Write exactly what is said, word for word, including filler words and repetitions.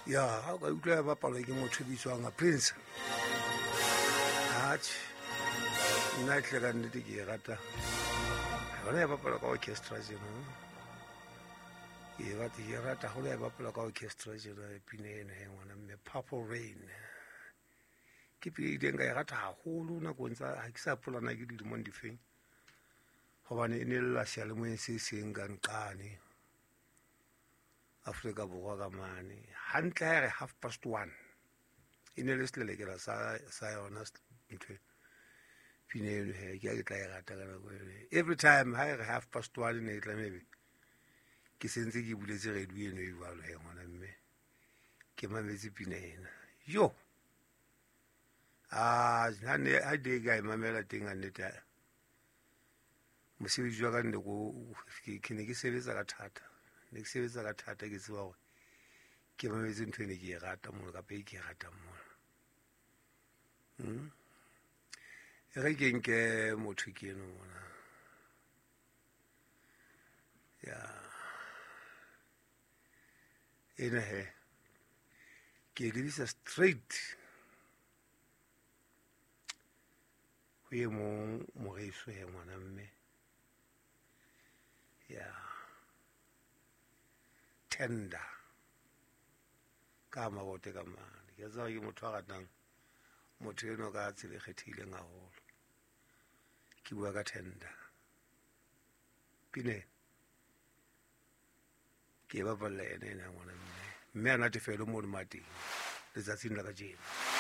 Ya ha o ka utlwa ya bapalwa ke motho o bitswang Prince. Atjhe, nna tle ka nnete ke e rata. Yona ya bapalwa ka orchestra tjena. Ke e rata, ke e rata haholo ya bapalwa ka orchestra tjena pina ena he ngwana mme, Purple Rain. Ke pina e ileng ka e rata haholo nakong tsa ha ke sa hopola na ke dilemong difeng. Hobane e ne lla seyalemoyeng se seng ka nqane Afrika Borwa ka mane. Hantle ha e re half past one. E ne le selelekela sa sa yona ntho pina eno he, ke ha ke tla e rata ka nako eno. Every time ha e re half past one ne e tlameha ebe ke sentse ke buletse radio eno e jwalo he ngwana mme. Ke mametse pina ena. Yo! Ah, ha ne ha de ka e mamela teng a nnete. Mosebetsi wa ka nne ko ke ne ke sebetsa ka thata. Ne ke sebetsa ka thata ke tseba hore ke mametse ntho e ne ke e rata mono kapa e ke e ratang mona. Hmm? E re ke nke motho ke eno mona. Ya. Ena he. Ke e lebisa straight ho e mong moreso he ngwana mme. Ya. Tender. Ka mabote ka mane. Ke tseba ke motho a ratang motho eno ka tsela e kgethehileng haholo. Ke bua ka Tender. Pine. Ke e bapalla ena ena ngwana mme. Mme a natefelwe mono mateng letsatsing la kajeno.